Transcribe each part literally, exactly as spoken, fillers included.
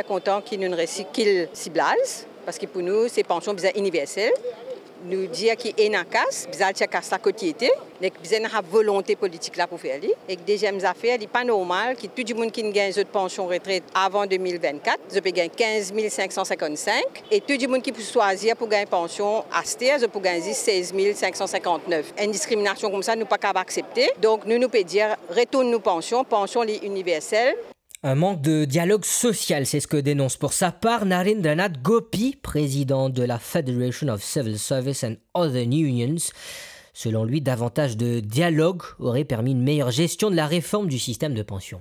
Kontan ki nou resi kit siblaz, parski pou nou, se pansion bizin iniversel. Nou dir ki ena kas, bizin al tir kas la kot li ete, nek bizin ena volonte politik la pou fer li. Ek deziem zafer, li pa normal ki tou dimoun ki gagn zot pansion retret avan de mil vennkat, zot pe gagn kinz mil sink san sinkant-sink, e tou dimoun ki pou swazir pou gagn pansion aster, zot pou gagn zis sez mil sink san sinkant-nef. Enn diskriminasion koumsa, nou pa kapav aksepte. Donk, nou, nou pe dir, retourn nou pansion, pansion li iniversel. Un manque de dialogue social, c'est ce que dénonce pour sa part Narendranath Gopi, président de la Federation of Civil Service and Other Unions. Selon lui, davantage de dialogue aurait permis une meilleure gestion de la réforme du système de pension.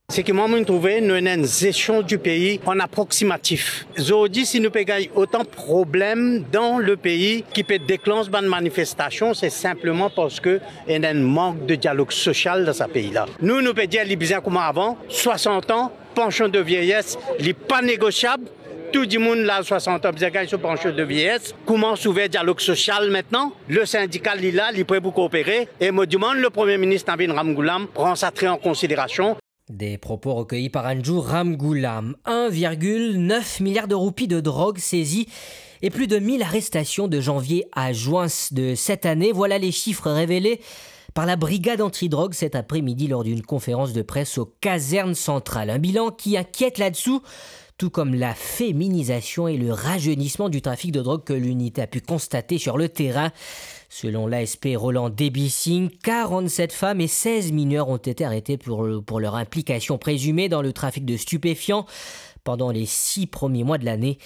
Seki mwa, mo trouve nou ena enn zestion di pei an aproksimatif. Zordi, si nou pe gagn otan problem dan le pei ki pe deklans bann manifestasion, se sinpleman parski ena enn mank de dialog sosial dan sa pei la. Nou, nou pe dir li bizin kouma avan, swasant an, pansion de vieyes, li pa negosiab. Tou dimoun laz swasant an bizin gagn so pansion de vieyes. Koumans ouver dialog sosial aster. Le sindika, li la, li pre pou koopere. E mo demann le Premie Minis Navin Ramgoolam pran sa tre an konsiderasion. Des propos recueillis par Anju Ramgoolam. Un virgule neuf milliard de roupies de drogue saisies et plus de mille arrestations de janvier à juin de cette année. Voilà les chiffres révélés par la brigade antidrogue cet après-midi lors d'une conférence de presse aux casernes centrales. Un bilan qui inquiète là-dessous, tout comme la féminisation et le rajeunissement du trafic de drogue que l'unité a pu constater sur le terrain. Selon l'A S P Roland Debising, quarante-sept femmes et seize mineurs ont été arrêtés pour, pour leur implication présumée dans le trafic de stupéfiants pendant les six premiers mois de l'année.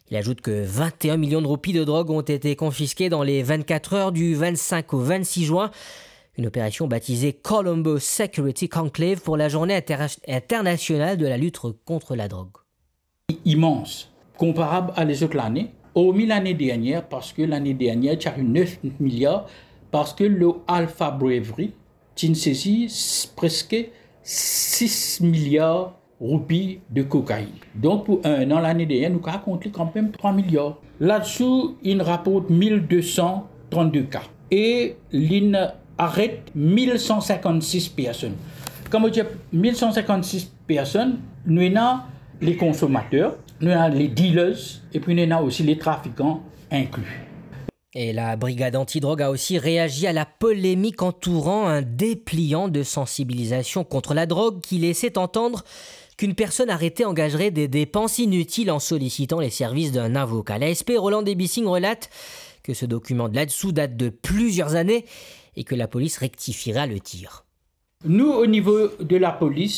Il ajoute que vingt et un millions de roupies de drogue ont été confisquées dans les vingt-quatre heures du vingt-cinq au vingt-six juin. Une opération baptisée Colombo Security Conclave pour la journée inter-, internationale de la lutte contre la drogue. Imans, konparab a lezot lane, ormi lane dernier, parski lane dernier ti ariv nef miliar, parski lor Alpha Brewery, ti'n sezi s-, preske sis miliar roupi de kokainn. Donk, pou enn an lane dernier, nou kav kont li kanmem trwa miliar. Ladsou, inn raport mil de san trant-de ka. E linn aret mil san sinkant-sis personn. Kan mo dir mil san sinkant-sis personn, nou ena le konsomater, nou ena le dealers, epi nou ena osi le trafikan inkli. Et la brigade antidrogue a aussi réagi à la polémique entourant un dépliant de sensibilisation contre la drogue qui laissait entendre qu'une personne arrêtée engagerait des dépenses inutiles en sollicitant les services d'un avocat. L'A S P Roland Debising relate que ce document de là-dessous date de plusieurs années et que la police rectifiera le tir. Nou, o nivo de lapolis,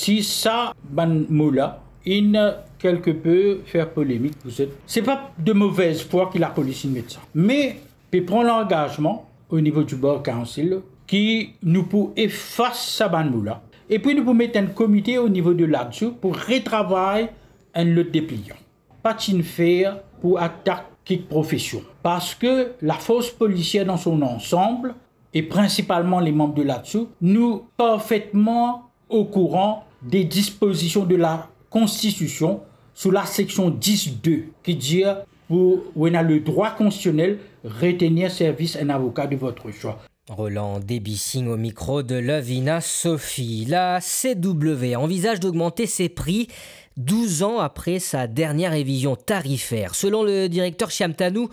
si sa bann mo la, inn kelke pe fer polemik pou zot, se pa de movez fwa ki lapolis inn met sa. Me pe pran langazman o nivo di Bar Council ki nou pou efas sa bann mo la. Epi nou pou met enn komite o nivo de ladsou pou retravay enn lot deplian. Pa ti'n fer pou atak kik profesion. Parski lafors polisier dan son ansam, e prinsipalman le manb de ladsou, nou parfetman okouran de dispozision de lakonstitision sou laseksion dis de ki dir pou ou ena ledrwa konstitisionel retenir servis enn avoka de vot swa. Roland Debising au micro de Lovina Sophie. La C W A envisage d'augmenter ses prix douze ans après sa dernière révision tarifaire. Selon le directeur Shyam Tanu,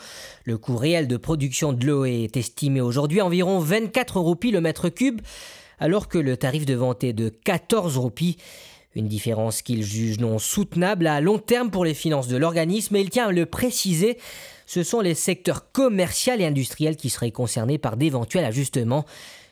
le coût réel de production de l'eau est estimé aujourd'hui à environ vingt-quatre roupies le mètre cube, alors que le tarif de vente est de quatorze roupies. Une différence qu'il juge non soutenable à long terme pour les finances de l'organisme, et il tient à le préciser, ce sont les secteurs commercial et industriel qui seraient concernés par d'éventuels ajustements.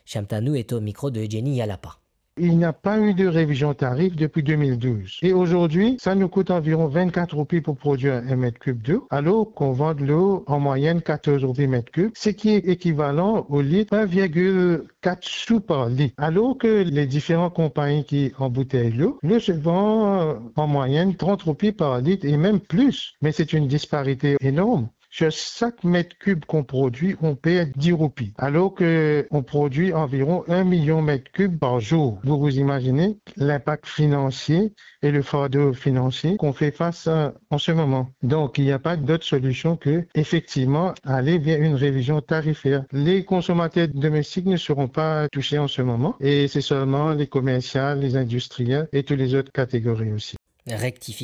Shyam Tanu est au micro de Jenny Yalapa. Il n'y a pas eu de révision tarif depuis deux mille douze. Et aujourd'hui, ça nous coûte environ vingt-quatre roupies pour produire un mètre cube d'eau, alors qu'on vend de l'eau en moyenne quatorze roupies mètre cube, ce qui est équivalent au litre un virgule quatre sous par litre. Alors que les différentes compagnies qui embouteillent l'eau, l'eau se vend, euh, en moyenne trente roupies par litre et même plus. Mais c'est une disparité énorme. Sur chaque mètre cube qu'on produit, on perd dix roupies, alors que on produit environ un million mètres cubes par jour. Vous vous imaginez l'impact financier et le fardeau financier qu'on fait face à, en ce moment. Donc, il n'y a pas d'autre solution que, effectivement, aller vers une révision tarifaire. Les consommateurs domestiques ne seront pas touchés en ce moment et c'est seulement les commerciales, les industriels et toutes les autres catégories aussi. Rectification